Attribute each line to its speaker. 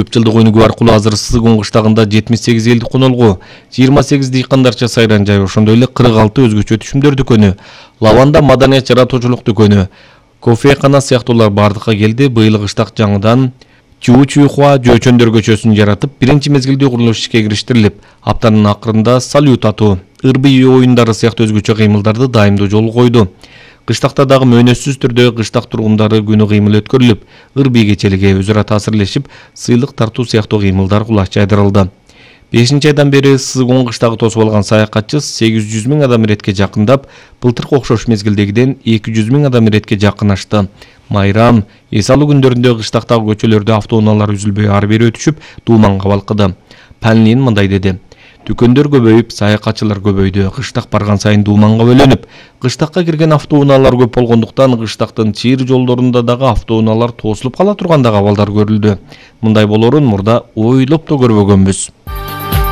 Speaker 1: 40 жылдык өнүгүү аркылуу азыр Сызыгун кыштагында 78 элди конолгу, 28 дыйкандарча сайран жай, ошондой эле 46 өзгөчө түшүмдөр дүкөнү, лаванда маданият жаратуучулук дүкөнү, кофекана сыяктуулар бардыкка келди. Быйыл кыштак жаңыдан Чуу-Чуйхуа жөөчөндөр көчөсүн жаратып, биринчи мезгилде курулуш ишке кириштирилип, аптанын акырында салют атуу, ырбый оюндары сыяктуу өзгөчө кыймылдарды дайымдоо жолу койду. Кыштакта дагы мөөнөтсүз түрдө кыштак тургундары күнү кыймыл өткөрүлүп, ырбый кечелиги өз ара таасирлешип, сыйлык тартуу сыяктуу кыймылдар кулаш жайдырылды. 5-айдан бери Сызыгун кыштагы тосуп алган саякатчы 800 000 адам иретке жакындап, былтыркы окшош мезгилдегиден 200 000 адам иретке жакынашты. Майрам, эс алуу күндөрүндө кыштактагы көчөлөрдө автоунаалар үзүлбөй ары бери өтүшүп, дууманга балкыды. Панлин мындай деди: дүкөндөр көбөйүп, саякатчылар көбөйдү. Кыштак барган сайын дууманга бөлөнүп, кыштакка кирген автоунаалар көп болгондуктан кыштактын чыйыр жолдорунда дагы автоунаалар тосулуп кала тургандагы абалдар көрүлдү. Мындай болоорун мурда ойлоп да көрбөгөнбүз.